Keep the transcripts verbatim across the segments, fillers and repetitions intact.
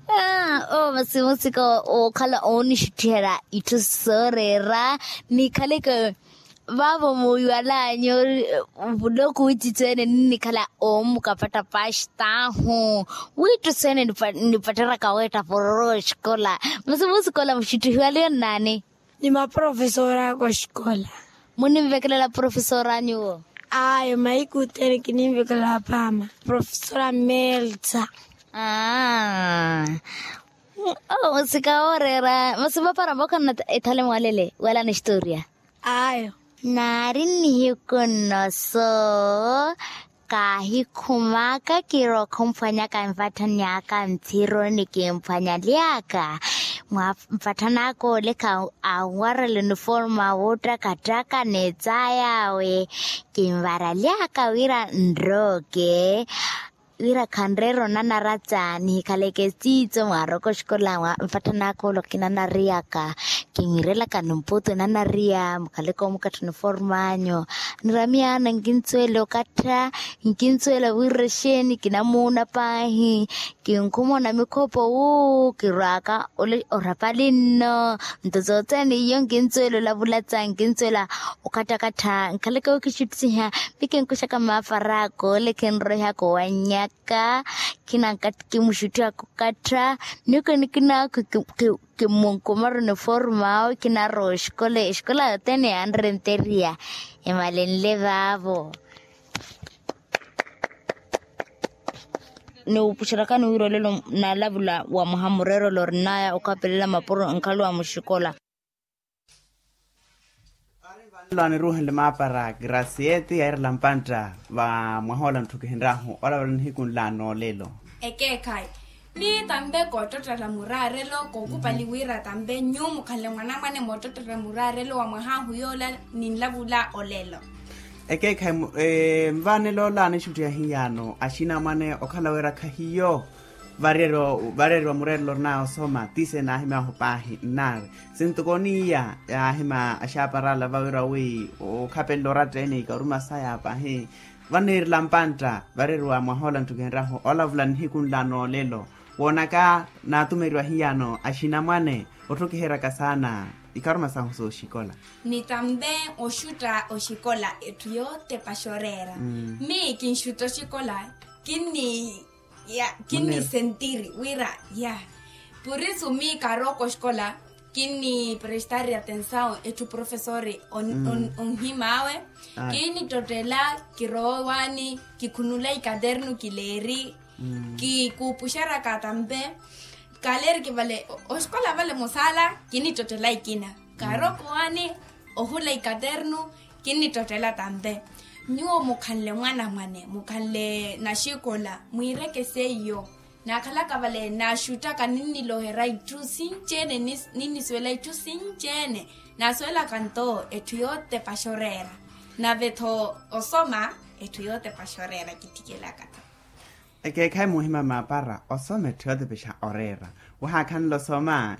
Aa, oo masi musika wookhala oonixuttiherya itthu sooreera. Nikhaleke vaavo muuyiwalanyu vuloko wittitthu ene ninnikhala oomukapatta paxitaahu. Wiitthu seene nipatteraka weetta pororo oxikola. Masi musika ola muxuttihiwaliwe nnaani? Ni maprofesora aka oxikola. Muninvekelela profesora anyuwo? Ayo mahiku othene kininvekelela paama profesora melta. Aa. Oo musika wooreera masi vapara mbookhanna ethale mwalele wala ni historia. Ayo. Naari nnihiku nno soo kaahikhumaka kirowa okhumphwanyaka nvatthani aka nthiro ni kimphwanyaly'aka mwa mpatthani aka olekha anwarela uniforme awoottakattaka n'etsaay'awe. Kinvaraly'aka wira nrooke wira khanreera onanaratta nihikhaleke esiitso mwaaroko oxikola mwa mpatthani aka ole okinanariyaka. Kimwiirelaka nimputu enanariya mukhaleke omukattha uniforme anyu. Niramiyaana nkinsuwela okattha nkinsuwela wiira exeeni kinamuuna paahi. Kinkhuma onamikhopo wuu kirwaaka orapali nno. Nto sothene iyo nkinsuwela olavulatsa nkinsuwela okattakattha nkhaleke wookixittisiha. Mikinkuxaka maafara akoole khinroihaka owannyaka. Khinanka kimuxuttihaka okattha. Nikina kimunkumara uniforme awe kinarowa oxikola exikola yothene yanrenteriya. Emalenle vaavo. Niwupuxerakani wira olelo nalavula wa mwaha mureerelo orinaya okhapelela mapuro nkhaluwa muxikola. Vanelo aniruuhenle maapara graciete yairela mpantta va mwahoola ntthu kihinrahu olavula nihiku nla noolelo. Ekeekhayi ni tampe koottottela muraarelo kookupali wira tampe nyuwo mukhanle mwanamwane moottottela muraarelo wa mwahahu yoola ninlavula olelo. Ekeekhayi mvaanelo ola anixuttiha hiyano axinamwane okhala wira khahiyo vareeriwa mureerelo orinaya osoma tise naahimyahu paahi nnaari. Sintuko niiya yaahima axaaparala vawira wi okhapelela oratta ene ikaruma saya paahi. Vaniirela mpantta vareeriwa mwahoola ntthu kihinrahu olavula nihiku nla noolelo. Woonaka naatumeriwa hiyano axinamwane otthukiheryaka saana ikharuma sahu sooxikola. Ni tampe oxutta oxikola etthu yootepa xoreera. Mi kinxutta oxikola kinni ya kinnisentiri wira ya. Purisu mi karooko oxikola kinniprestari atensawu etthu profesori onhimaawe. Kinnittottela kirowa owaani kikhunula ikaternu kileeri. Kikuupuxeraka tampe. Kaleeriki vale oxikola vale musaala kinnittottela ikina. Karooko owaani ohula ikaternu kinnittottela tampe. Nyuwo mukhanle mwanamwane mukhanle naxikola mwiireke seiyo. Naakhalaka vale naaxuttaka ninniloherya itthu sinci-ene ninnisuwela itthu sinci-ene. Naasuwelaka nto etthu yootepa xoreera. Nave-tho osoma etthu yootepa xoreera kittikelaka-tho. Ekeekhayi muhima maapara osoma etthu yootepexa oreera. Wahaakhanela osoma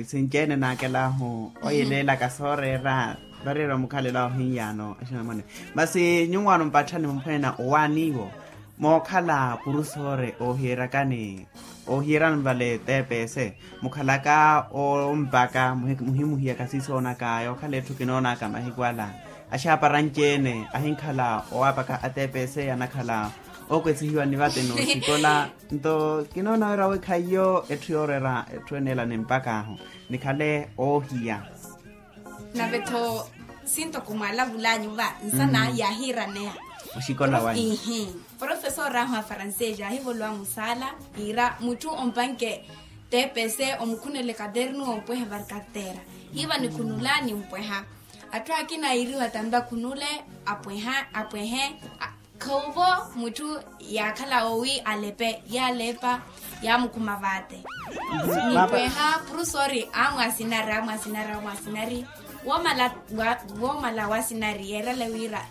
sinci-ene naakelahu oyeleelaka sooreera. Vareeriwa mukhalelo awo hiyano axinamwane. Masi nyuwo ano mpatthani mumphwenyana owaaniwo mookhala purusore oohiyeryakani oohiyerani vale tps. Mukhalaka ompaka muhimuhiyaka siisoonaka yookhala etthu kinoonaka mahiku ala. Axaapara anci-ene ahinkhala owaapaka atps anakhala ookwesihiwa ni vate nooxikola. Nto kinoona wira wi khaiyo etthu yooreera etthu ene ela nimpak'ahu nikhale oohiya. Nave-tho sintoko mwaalavul'anyu va nsana yaahiiraneya. Oxikola wanyu ihi profesori ahu a francês yaahivolowa musaala yiira mutthu ompanke tps omukhunele katernu ompwehe varkartera. Hiiva nikhunula nimpweha. Atthu akina yiiriwa tampe akhunule apweha apwehe. Khoovo mutthu yaakhala owi alepe yaalepa yaamukhuma vaate. Nipweha purusori amwaasinari amwaasinari amwaasinari. Woomala waasinari yeerale wira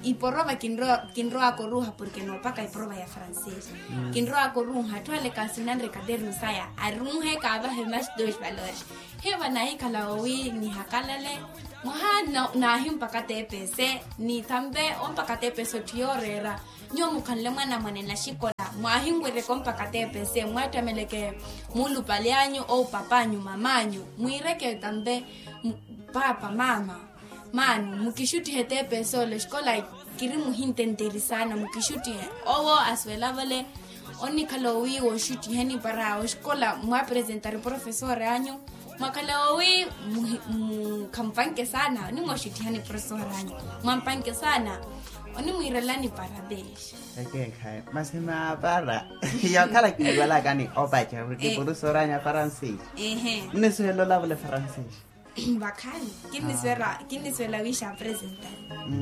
iporova kinrowaka oruuha porke noopaka iporova ya francês. Kinrowaka oruuha atthu ale kaasinanre katernu saya aruuhe kaavahe mas dos valores. Hiiva naahikhala owi nihakalale mwaha naahimpaka tps. Ni tampe ompaka tps otthu yooreera. Nyuwo mukhanle mwanamwane naxikola Mwahinwereke ompaka tepese mwattameleke muulupali anyu ou pap'anyu mam'anyu mwiireke tampe. Paapa maama, maano mukixuttihe tepese ole oxikola kiri muhintenteri saana mukixuttihe. Owo asuwela vale onnikhala owi woxuttiheni para oxikola mwapresentari profesori anyu. Mwakhala owi khampanke saana onimwoxuttihani profesori anyu mwampanke saana onimwiirelani para peexa. Ekeekhayi masi maapara. Yookhala kiiwalakani opaca wi kipurusoranyu a faransiisi. Nnisuwela olavula efaransiisi. Vakhani kinnisuwela wiixa apresentari.